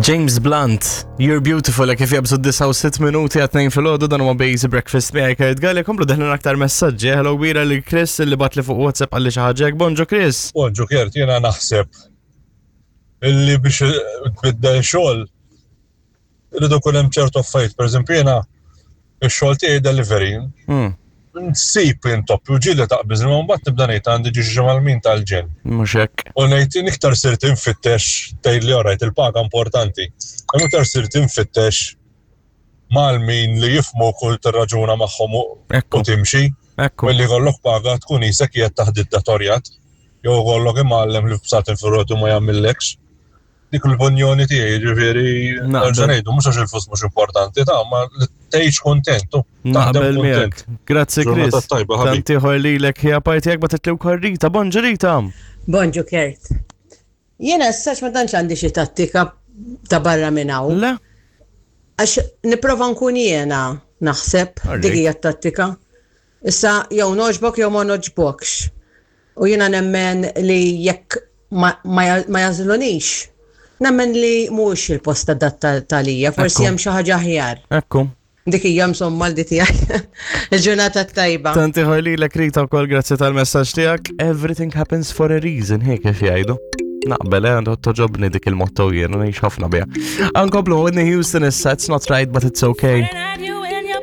James Blunt, You're Beautiful, kif jabżu 69 minuti għat fil-ħodu dan huwa Basic Breakfast miegħi Kurt Galli, komplu deħlin aktar messaġġi. Hello kbira li Chris li bat li fuq WhatsApp għalli xi ħaġa. Bonġu Chris. Bonġu Kurt, jiena naħseb illi biex tbiddel xogħol Irridu kun hemm ċertu affarijiet, pereżempju jiena ix-xogħol tiegħi delivery. Hmm. Nsib intoppi u ġieli taqbiż imma mbagħad nibda ngħid għandi ġi xi mal-min tal-ġen. Mhux hekk. U ngħid iktar sirt infittex tgħid li orajt il-paga importanti. Imma iktar sirt infittex mal-min li jifmu kull tirraġuna magħhom u timxi. Ekku. Milli jkollok paga tkun isek qiegħed taħt dittatorjat jew jkollok imgħallem li b'satin fil ma jagħmillekx. Dik l-opinjoni tiegħi, ġifieri nerġa' ngħidu mhux għax il-flus mhux importanti ta' ma li tgħix kuntent. Naqbel miegħek. Grazzi Chris. Tant ieħor lilek hija parti jekk bagħtet wkoll Rita. Bonġu Rita. Bonġu Kurt. Jiena issa ma tantx għandi xi tattika ta' barra minn hawn. Le. Għax nipprova nkun jiena naħseb dik hija t-tattika. Issa jew nogħġbok jew ma nogħġbokx. U jiena nemmen li jekk ma jagħżlunix, nemmen li mhuwiex il-post adatt għalija, forsi hemm xi ħaġa aħjar. Ekku. Dik hija insomma l tiegħi. Il-ġurnata t-tajba. Tant ieħor lilek Rita wkoll grazzi tal-messaġġ tiegħek. Everything happens for a reason, hekk kif jgħidu. Naqbel, eh, għandu toġobni dik il-motto jien, ngħix ħafna biha. Ankomplu Whitney Houston issa, it's not right but it's okay.